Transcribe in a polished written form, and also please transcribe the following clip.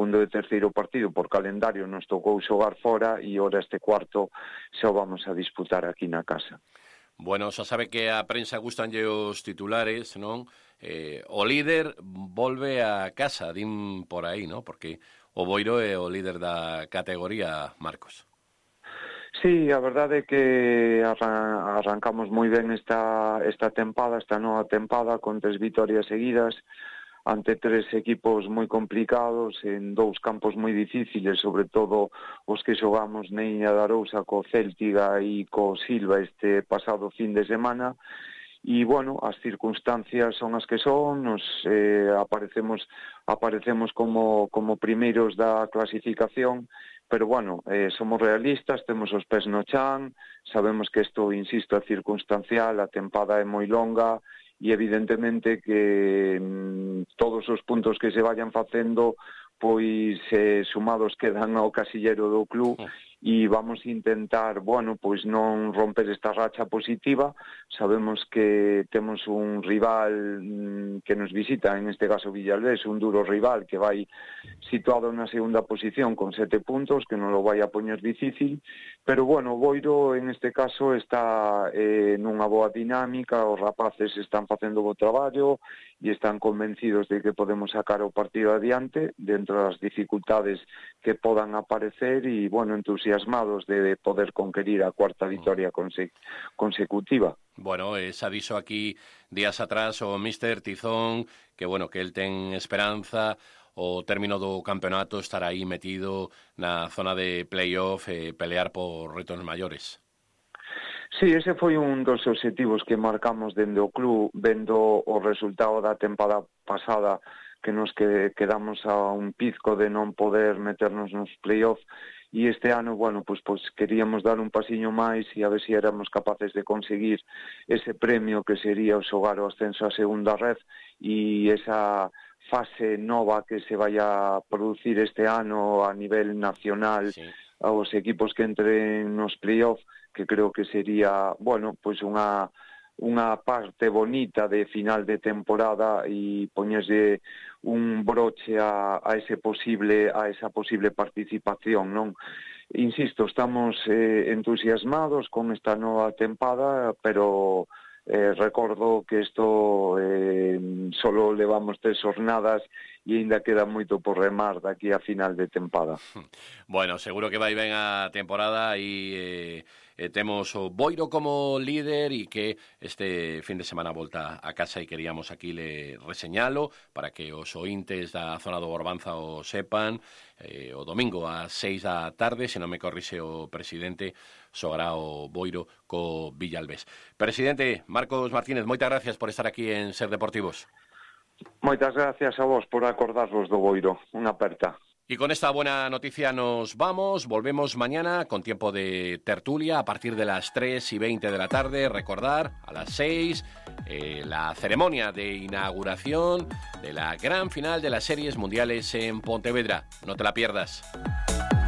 segundo e terceiro partido por calendario nos tocou xogar fora e ora este cuarto xa o vamos a disputar aquí na casa. Bueno, xa sabe que a prensa gustanlle os titulares, non? O líder volve a casa, din por aí, non? Porque o Boiro é o líder da categoría, Marcos. Sí, a verdade é que arrancamos moi ben esta nova tempada con 3 vitorias seguidas ante 3 equipos moi complicados en 2 campos moi difíciles, sobre todo os que xogamos na Iña de Arousa co Céltiga e co Silva este pasado fin de semana. E, bueno, as circunstancias son as que son, nos aparecemos como primeiros da clasificación, pero, bueno, somos realistas, temos os pés no chan, sabemos que isto, insisto, é circunstancial, a tempada é moi longa, e evidentemente que todos os puntos que se vayan facendo, pois sumados quedan ao casillero do club, e vamos intentar, bueno, pois non romper esta racha positiva. Sabemos que temos un rival que nos visita, en este caso Villalbés, un duro rival que vai situado na segunda posición con 7 puntos, que non lo vai a poñer difícil, pero, bueno, o Boiro en este caso está nunha boa dinámica, os rapaces están facendo o bo traballo e están convencidos de que podemos sacar o partido adiante dentro das dificultades que podan aparecer e, bueno, entusiasmados de poder conquerir a cuarta vitoria consecutiva. Bueno, xa dixo aquí días atrás o Míster Tizón que, bueno, que el ten esperanza o término do campeonato estar aí metido na zona de playoff e pelear por retos maiores. Sí, ese foi un dos obxectivos que marcamos dende o club, vendo o resultado da tempada pasada, que nos quedamos a un pizco de non poder meternos nos playoff, e este ano, bueno, pues queríamos dar un pasiño máis e a ver se éramos capaces de conseguir ese premio que sería o xogar o ascenso a segunda red e esa fase nova que se vai a producir este ano a nivel nacional, sí, aos equipos que entren nos playoff, que creo que sería, bueno, pues unha parte bonita de final de temporada e poñerse un broche a esa posible participación, non? Insisto, estamos entusiasmados con esta nova tempada, pero recordo que isto solo levamos 3 jornadas e ainda queda moito por remar daqui a final de tempada. Bueno, seguro que vai ben a temporada e temos o Boiro como líder e que este fin de semana volta a casa e queríamos aquí le reseñalo para que os ointes da zona do Borbanza o sepan. O domingo ás 6 da tarde, se non me corrixe o presidente, xogará o Boiro co Villalbés. Presidente Marcos Martínez, moitas gracias por estar aquí en Ser Deportivos. Moitas gracias a vos por acordarvos do Boiro. Unha aperta. Y con esta buena noticia nos vamos. Volvemos mañana con tiempo de tertulia a partir de las 3:20 de la tarde. Recordar, a las 6, la ceremonia de inauguración de la gran final de las Series Mundiales en Pontevedra. No te la pierdas.